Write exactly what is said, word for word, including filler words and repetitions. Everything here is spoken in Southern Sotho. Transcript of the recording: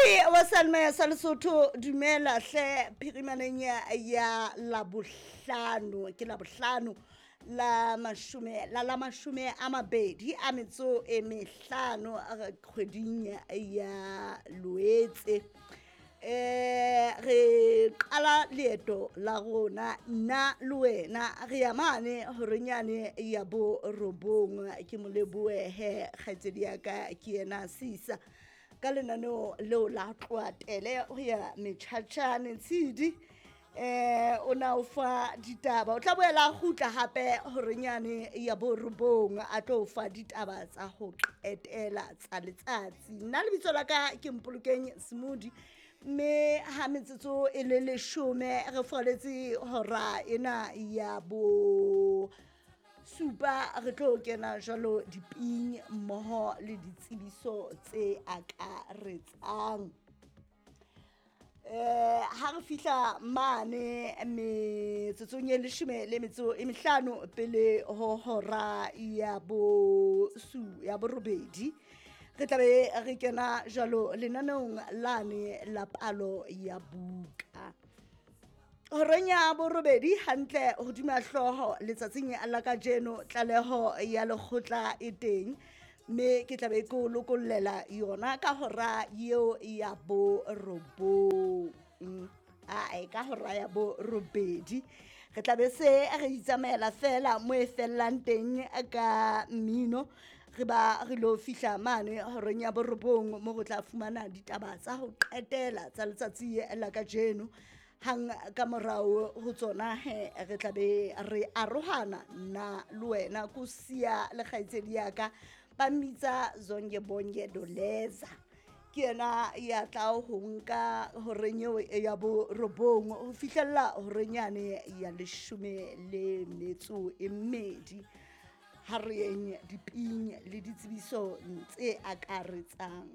Mamedi wa Salma sa Lesotho, dumela hle phirimaneng ya ya Labohlano. Ke Labohlano la mashome la la mashome a mabedi a metso e mehlano kgweding ya Loetse. Eh re qala leeto la rona nna le wena, re ya mane horenyane ya bo robong. Ke mo lebohe kgaitsedi ya ka, ke yena Sisa ka lenaneo leo la tloatele ho ya metjhatjhane. Tshidi eh o na o fa ditaba, o tla boela a kgutla hape horenyane ya bo robong a tlo fa ditaba tsa ho qetela tsa letsatsi. Nna lebitso la ka ke Mpolokeng Smodi, mme ha metsotso e le leshome re foletse hora ena ya bo supa, re tlo kena jwalo diping mmoho le ditsebiso tse akaretsang. Eh ha re fihla mane metsotsong e leshome le metso e mehlano pele ho hora ya bo su ya borobedi, re tlabe re kena jwalo lenaneong lane la palo ya buka. Horeng ya borobedi hantle hodima hlooho letsatsing la kajeno, tlaleho ya lekgotla e teng, mme ke tlabe ke o lokollela yona ka hora eo ya borobong, ae ka hora ya borobedi. Re tlabe se re itsamaela fela mo e fellang teng ka mmino, re ba re lo fihla mane horeng ya borobong mo re tla fumana ditaba tsa ho qetela tsa letsatsi la kajeno. Hang ka morao ho tsona he re tlabe re arohana nna le wena, ko siya le kgaitsedi ya ka ba mmitsa Zonke Bonke Doleza, ke yena ya tla ho nka horeng eo ya borobong ho fihlella horeng yane ya leshome le metso e mmedi. Ha re yeng diping le ditsebiso tse akaretsang.